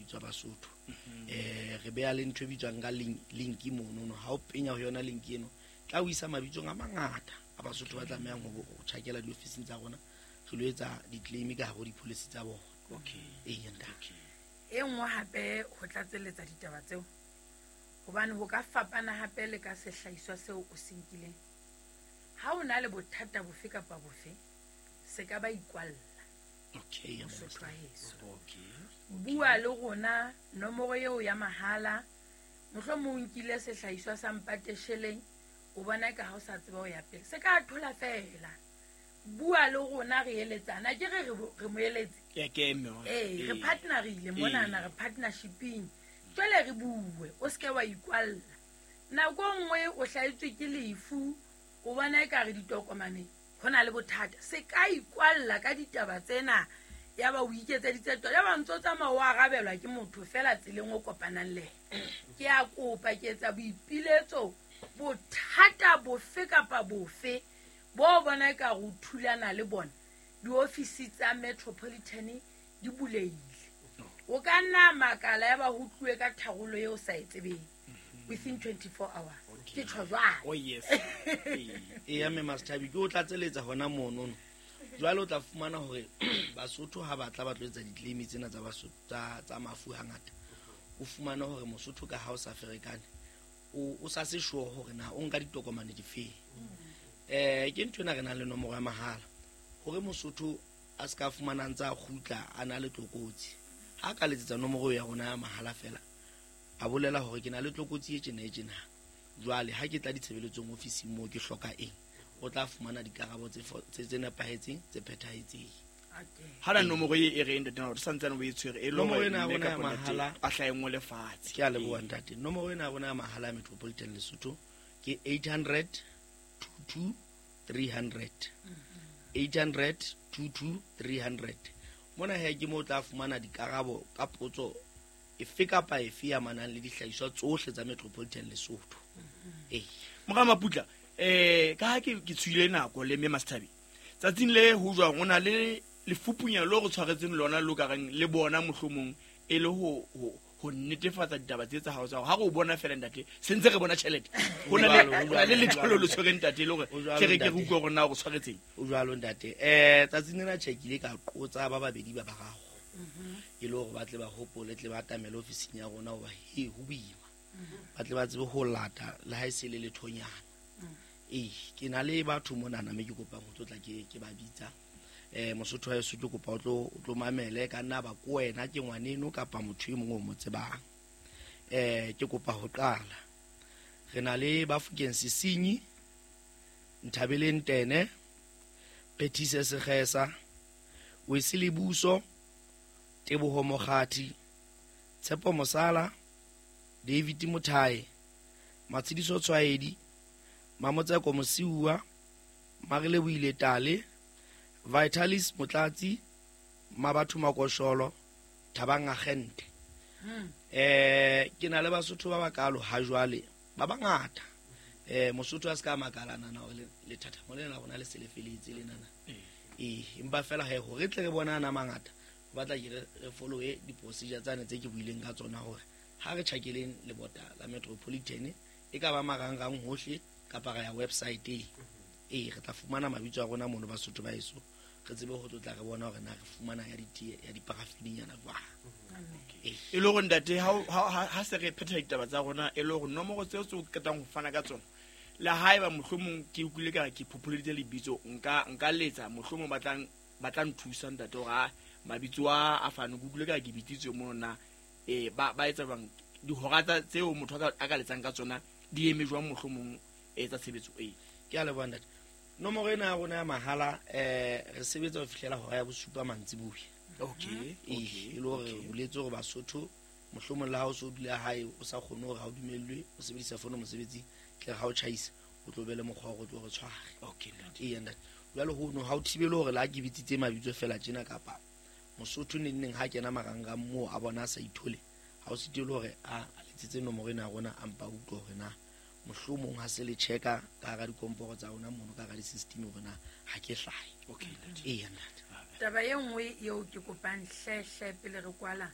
mabitso a Basotho. Re beha le ntho e bitswang ka link monono. Ha o penya ho yona link eno, tla o isa mabitsong a mangata a Basotho ba tlamehang ho tjhakela diofising tsa rona, re lo etsa di-claim ka hare ho di-policy tsa bona. Ee, ntate. E nngwe hape ho tlatselletsa ditaba tseo, hobane ho ka fapana hape le ka sehlahiswa seo o se nkileng. Ha o na le bothata bofe kapa bofe, se ka ba ikwalla. Mosotho wa heso. Bua le rona, nomoro eo ya mahala, mohlomong o nkile sehlahiswa sa mpatesheleng, o bona eka ha o sa tseba ho ya pele. Se ka thola feela. Bua le rona re eletsana. Ke re re mo eletse. Ee, re partnerile monana, re partnershiping. Jwale re bue, o seke wa ikwalla. Nako e nngwe o hlahetswe ke lefu, o bona ekare ditokomane ho na le bothata. Se ka ikwalla ka ditaba tsena, ya ba o iketseditse tsona, ya ba ntso tsamaya o arabelwa ke motho fela tseleng o kopanang le yena. Ke a kopa, ke etsa boipiletso, bothata bofe kapa bofe bo bona ekare o thulana le bona, diofisi tsa Metropolitan di bulehile. O ka nna makala ya ba ho tluwe ka tharollo eo o sa e tsebeng within 24 hours. Ke tjho jwalo. Oh, yes. Eya, mme Master, ke o tlatseletsa hona monono. Jwale o tla fumana hore Basotho ha batla ba tlo etsa di-claim tsena tsa Basotho, tsa mafu hangata. O fumana hore Mosotho ka ha o sa ferekane, o sa se sure hore na o nka ditokomane difeng. Ke ntho ena re nang le nomoro ya mahala hore Mosotho a se ka fumana ntse a kgutla a na le tlokotsi. Ha ka letsetsa nomoro ya rona ya mahala fela, a bolela hore ke na le tlokotsi e tjena e tjena. Jwale ha ke tla ditshebeletsong ofising moo ke hloka eng, o tla fumana dikarabo tse nepahetseng, tse phethahetseng. Ha na nomoro e e reng ntate, o santsane o e tshwere, e le Nomoro hore ena ya mme rona ya kapa ntate mahala. a hlahe nngwe lefatshe. Ke a leboha ntate. Nomoro ena ya rona ya mahala ya Metropolitan Lesotho ke 800 22 300. 800 22 300. Mona he ke mo tla fumana dikarabo ka potso efe kapa efe ya manang le dihlahiswa tsohle tsa Metropolitan Lesotho. Ee. Mora Maputla, ka ha ke tswile nako le mme Master, tsatsing le ho jwang o na le lefupunya lo re tshwaretseng lona lo ka reng le bona mohlomong e le ho netefatsa ditaba tse tsa hao tsa hore ha re o bona fela ntate, se ntse re bona tjhelete. Ho na le, Jwalo, ho na le jwalo, letho lo jwalo. le tshwereng ntate, e le hore Ho jwalo, ke re ke ntate. re utlwe hore na o re tshwaretseng. Ho jwalo ntate. Tsatsing lena tjhe ke ile ka qotsa ba babedi ba bararo. E le hore ba tle ba hopole, tle ba atamele ofising ya rona hoba he ho boima. Ba tle ba tsebe ho lata le ha e se le lethonyana. Ee, ke na le batho monana mme ke kopang ho tlotla ke ba bitsa. Mosotho wa heso ke kopa o tlo mamele, ka nna ba ko wena ke ngwaneno kapa motho e mong o mo tsebang. Ke kopa ho qala. Re na le Bafokeng Sesinyi, Nthabeleng Tene, Phethise Sekgesa, Wesley Buso, Teboho Mokgathi, Tshepo Mosala, David Mothae, Matshidiso Tshwaedi, Mamotseko Mosiuwa, Marile Boile Tale, Vitalis Motlatsi, Mabatho Makosholo, Thabang Agente. Ke na le Basotho ba bakalo ha jwale, ba bangata. Mosotho a se ka makalana na hore lethathamo lena la rona le se le feletse lenana. Empa fela he hore tle re bona ana mangata, ho batla ke re follow-e di-procedure tsane tse ke buileng ka tsona hore ha re tjhakeleng lebota la Metropolitan, e ka ba marangrang hohle kapa ra ya website-eng. Re tla fumana mabitso a rona mono Basotho ba heso, re tsebe ho tlotla re bona hore na re fumana ya ditee, ya diparafinenyana jwang. E le hore ntate, ha se re phetha ditaba tsa rona, e le hore nomoro tseo tse o qetang ho fana ka tsona, le haeba mohlomong ke utlwile ka re ke phopholeditse lebitso, nka letsa mohlomong ba tla nthusa ntate hore a mabitso a fane, ke utlwile ka re ke bitsitswe mono na, ba etsa jwang? Dihora tseo motho a ka letsang ka tsona di eme jwang mohlomong, tsa tshebetso e? Ke a leboha ntate. Nomoro ena ya rona ya mahala, re sebetsa ho fihlela hora ya bosupa mantsiboya. E le hore re buletse hore Basotho mohlomong le ha o so dula hae o sa kgone hore ha o dumellwe o sebedisa fono mosebetsing, tle ha o tjhaisa o tlo be le mokgwa wa hore o tlo re tshware. Ntate. Ee, ntate. Jwale hono ha o thibele hore le ha ke bitsitse mabitso fela tjena kapa Mosotho neng neng ha kena marangrang moo a bona a sa ithole, ha o sitelwe hore a letsetse nomoro ena ya rona a mpa utlwe hore na mohlomong ha se le checka ka hara dikomporo tsa rona mono ka hara di-system hore na ha ke hlahe. Ntate. Ee, ntate. Taba e nngwe eo ke kopang hle hle pele re kwala,